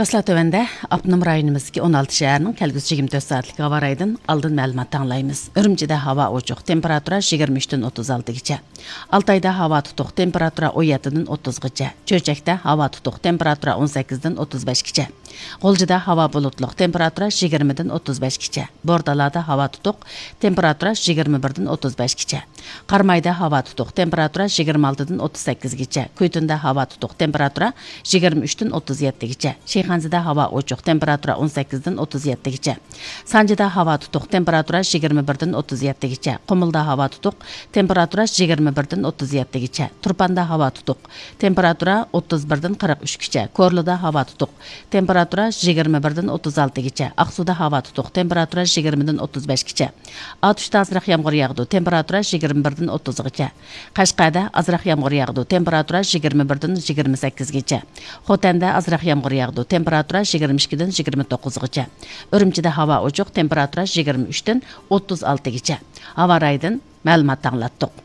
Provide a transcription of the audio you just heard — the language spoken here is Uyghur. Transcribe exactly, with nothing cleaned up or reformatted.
ئەسلا تۆۋەندە ئاپتونوم رايونىمىزدىكى ئون ئالتە شەھەرنىڭ كەلگۈسى يىگىرمە تۆت سائەتلىك ھاۋا رايىدىن ئالدىن مەلۇمات ئاڭلايمىز. ئۈرۈمچىدە ھاۋا ئوچۇق، تېمپېراتۇرا يىگىرمە ئۈچتىن ئوتتۇز ئالتىگىچە. ئالتايدا ھاۋا تۇتۇق، تېمپېراتۇرا ئون يەتتىدىن ئوتتۇزغىچە. چۆچەكتە ھاۋا تۇتۇق، تېمپېراتۇرا ئون سەككىزدىن ئوتتۇز بەشكىچە. غۇلجىدا ھاۋا بۇلۇتلۇق، تېمپېراتۇرا يىگىرمىدىن ئوتتۇز بەشكىچە. بورتالادا ھاۋا تۇتۇق، تېمپېراتۇرا يىگىرمە بىردىن ئوتتۇز بەشكىچە. قارامايدا ھاۋا تۇتۇق، تېمپېراتۇرا يىگىرمە ئالتىدىن ئوتتۇز سەككىزگىچە. كۈيتۇندا ھاۋا تۇتۇق، تېمپېراتۇرا يىگىرمە ئۈچتىن ئوتتۇز يەتتىگىچە. شىخەنزىدە ھاۋا ئوچۇق، تېمپېراتۇرا ئون سەككىزدىن ئوتتۇز يەتتىگىچە. سانجىدا ھاۋا تۇتۇق، تېمپېراتۇرا يىگىرمە بىردىن ئوتتۇز يەتتىگىچە. قۇمۇلدا ھاۋا تۇتۇق، تېمپېراتۇرا يىگىرمە بىردىن ئوتتۇز يەتتىگىچە. تۇرپاندا ھاۋا تۇتۇق، تېمپېراتۇرا ئوتتۇز بىردىن قىرىق ئۈچكىچە. كورلىدا ھاۋا تۇتۇق، تېمپېراتۇرا يىگىرمە بىردىن ئوتتۇز ئالتىگىچە. ئاقسۇدا ھاۋا تۇتۇق، تېمپېراتۇرا يىگىرمىدىن ئوتتۇز بەشكىچە. ئاتۇشتا ئازراق يامغۇر ياغىدۇ، تېمپېراتۇرا يىگىرمە بىردىن ئوتتۇزغىچە. قەشقەردە ئازراق يامغۇر ياغىدۇ، تېمپېراتۇرا يىگىرمە بىردىن يىگىرمە سەككىزگىچە. خوتەندە ئازراق يامغۇر ياغىدۇ، تېمپېراتۇرا يىگىرمە ئىككىدىن يىگىرمە توققۇزغىچە. ئۈرۈمچىدە ھاۋا ئوچۇق، تېمپېراتۇرا يىگىرمە ئۈچتىن ئوتتۇز ئالتىگىچە. ھاۋا رايىدىن مەلۇمات ئاڭلاتتۇق.